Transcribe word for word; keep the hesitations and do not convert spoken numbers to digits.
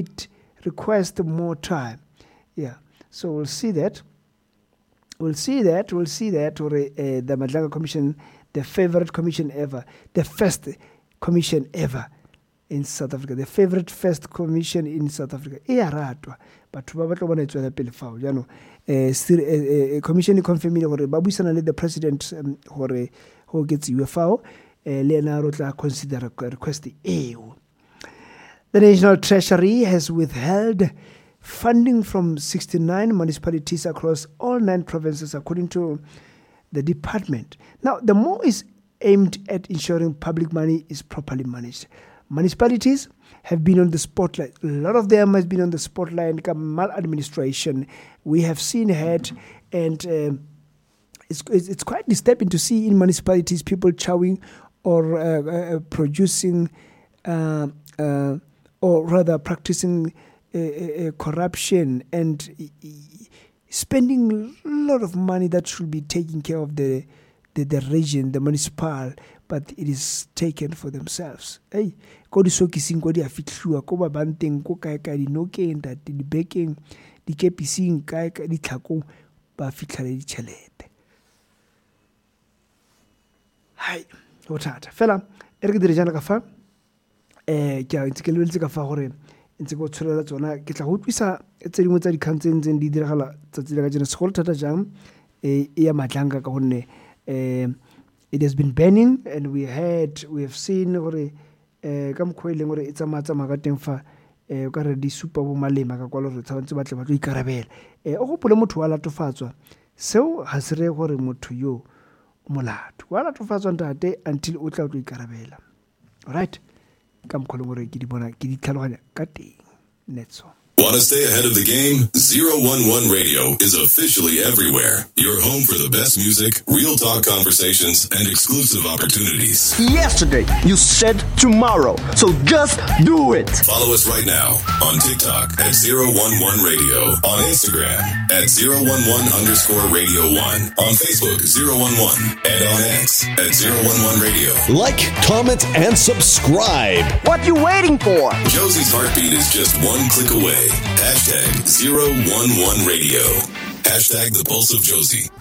it requests more time. Yeah, so we'll see that. We'll see that. We'll see that. Or uh, the Madlanga Commission, the favorite commission ever, the first commission ever in South Africa, the favorite first commission in South Africa. E a ratwa. Batho ba batla bona e tswela pele fao. Jaanong eh, eh, eh, commission e confirmile gore ba buisana le the president um, gore go oketsiwe fao eh, le ena re tla consider request eo. The National Treasury has withheld funding from sixty-nine municipalities across all nine provinces, according to the department. Now, the more is aimed at ensuring public money is properly managed. Municipalities have been on the spotlight. A lot of them has been on the spotlight. Maladministration. We have seen it, and um, it's, it's, it's quite disturbing to see in municipalities people chowing or uh, uh, producing, uh, uh, or rather practicing uh, uh, corruption and spending a lot of money that should be taking care of the, the, the region, the municipal, but it is taken for themselves. Hey, ko disokising ko di a fitlhiwa ko babanteng ko kae kae dinokeng ntate dibekeng dikepising kae kae ditlhakong ba fitlha le ditšhelete. Hai, go thata fela e re ke dire jaana ka fa eh ke a ntse ke lebeletse ka fa gore ntse ke o tsholela tsona ke tla go utlwisa tse dingwe tsa dikgang tse ntseng di diragala tsatsi le kajeno segolo thata jang e ya Madlanga ka gonne eh it has been burning and we had we have seen gore eh ka mokgwa e leng gore e tsamaya tsamaya ka teng fa eh o ka re di supa bo malema ka kwalo gore tshwanetse ba tle ba tlo ikarabela. Eh o gopole motho wa latofatswa seo ga se re gore motho yo molato wa latofatswa ntate until o tla o tlo ikarabela. Alright, ka mokgwa e leng gore ke di bona ke di tlhaloganya ka teng netso. Want to stay ahead of the game? zero one one Radio is officially everywhere. Your home for the best music, real talk conversations, and exclusive opportunities. Yesterday, you said tomorrow, so just do it. Follow us right now on TikTok at zero one one Radio, on Instagram at zero one one underscore radio one, on Facebook zero one one, and on X at zero one one Radio. Like, comment, and subscribe. What you waiting for? Josie's heartbeat is just one click away. Hashtag zero one one Radio. Hashtag the Pulse of Josie.